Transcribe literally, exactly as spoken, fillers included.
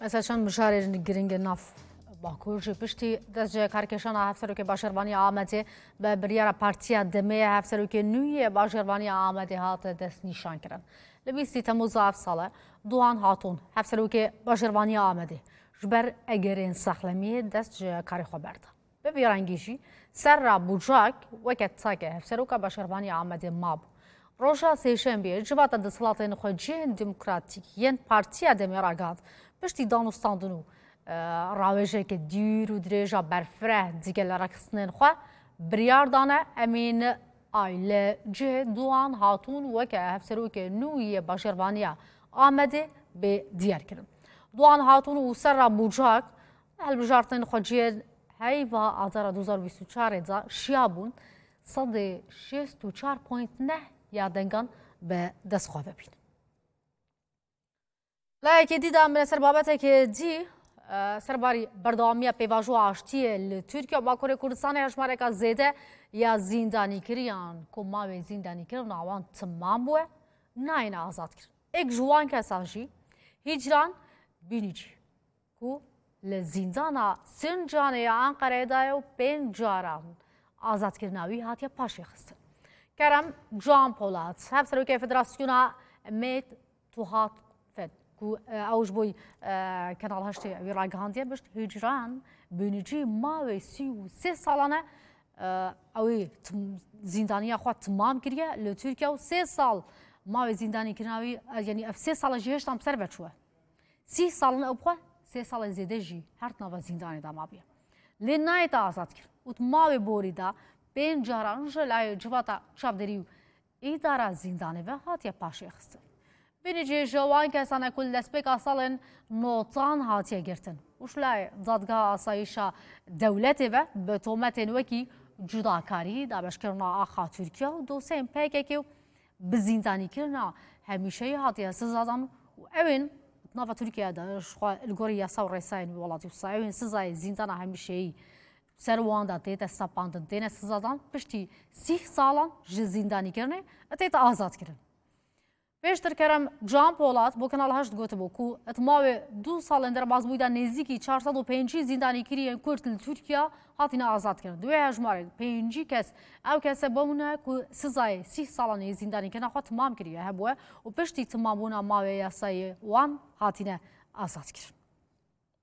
Mesela çend mijarên giring nav Bakur jî piştî destcihkarkêşana Hevserokê Bajarvaniya Amedê bi biryara Partiya Demê Hevserokê nû yê Bajarvaniya Amedê hate destnîşankirin. Li bîstî Temûza ev sale Doğan Hatun, Hevserokê Bajarvaniya Amedê, ji ber egerên sexlemiyê dest ji karê xwe berda. Bi vî rengî jî Serra Bucak weke take Hevseroka Bajarvaniya Amedê mabû. Roja Sêşembiyê civata desthilatên xwecihên demokratîk yên Partiya Demê ragihand, piştî danûstandin û, e, rawêjeke dûr û dirêj a berfireh digel rêxistinên xwe, biryar dane Emîn Ay li cihê Doğan Hatun weke Hevserokê nû yê Bajarvaniya Amedê bê diyar kirin. Doğan Hatun û Serra Bucak hilbijartinên xwecihên heyva Adara du hezar û bîst û çar de şiya bûn, sedê şêst û çar point neh ya dengan bi dest xwe ve bîn. Layekê dî de em bine ser babetekê dî, e, serbarî berdewamiya pêvajoya aştiyê li Tirkiye û Bakurê Kurdistanê hejmareka zêde ya zîndanîkiriyan ku mawê zîndanîkirina wan timam bûye, nayêne azadkirin. Êk ji wan kesan jî Hîcran Bînîcî, ku li zîndana Sincanê ya Enqereyê de ye û pênc caran azadkirina wî hatiye paşê xistin. Kerem Can Polat, Hevserokê Federasyona Mêt Tuhat Fed, ku, e, ew ji bo, e, Kanal Heştê wî ragihandiye, bişt Hîcran Bînîcî mawê sî û sê salan e, e, ew ê tim-, zîndaniya xwe timam kiriye li Tirkiye û sê sal mawê zîndanîkirina wî, e, yanî ev sê sal e jî hêşta em ser ve çûye. Sî sal in ew bi xwe, sê salên zêde jî her di nava zîndanê de mabûye. Lê nayête azad kirin û di mawê borî de pênc caran ji layê civata çavdêrî û îdara zîndanê ve hatiye paşê xistin. Bînîcî ji wan kesan e ku li destpêka salên notan hatiye girtin û ji layê Dadgeha Asayîşa Dewletê ve bi tometên wekî cudakarî, dabeşkirina axa Tirkiye û dosyeyên P K K û bi zîndanîkirina hemîşeyî hatiye sizadan û ew ên di nava Tirkiye de ji xwe li gorî yasa û rêsayên wî welatî wisa ew ên sizayê zîndana hemîşeyî ser wan de tête sepandin, têne sizadan, piştî sîh salan ji zîndanîkirinê tête azadkirin. Pêştir Kerem Can Polat bo Kanal Heşt gotibû ku di mawê du salên derbasbûyî de nêzîkî çar sed û pêncî zîndanîkiriyên Kurd li Tirkiye hatine azadkirin. Di wê hejmarê pêncî kes ew kese bûne ku sizayê sîh salan yê zîndanîkirina xwe timam kiriye hebûye û piştî timambûna mawê yasayê wan hatine azadkirin.